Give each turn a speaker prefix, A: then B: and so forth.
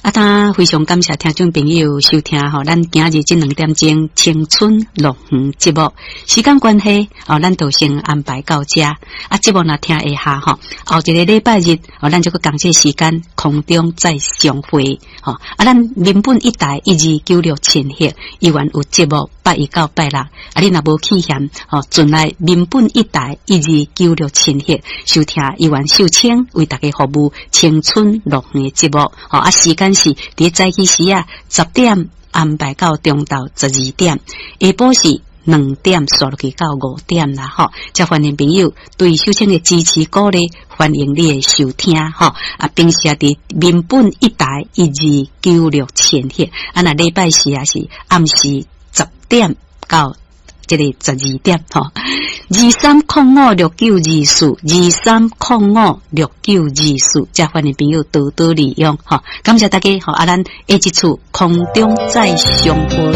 A: 啊，當非常感謝聽眾朋友收聽吼，咱今日這兩點鐘青春樂園節目。時間關係，哦，咱就先安排到這。啊，節目若聽會下吼，後一个禮拜日，哦，咱就閣仝這時間空中再相會。吼，啊，咱民本一台1296千赫，依然有節目拜一到拜六。啊，你若無去嫌，吼，轉來民本一台1296千赫收聽依然秀清為大家服務青春樂園的節目。吼，啊，時間是佇早起時啊，10點安排到中晝12點，下晡是2點煞落去到5點啦，吼！遮歡迎朋友對秀清的支持鼓勵，歡迎你的收聽，吼！啊，平時啊，佇民本一台1296千赫，啊，若禮拜四也是暗時10點到這个12點，吼，23056924，23056924，遮歡迎朋友多多利用，吼！感謝大家，吼！啊，咱下一次空中再相會。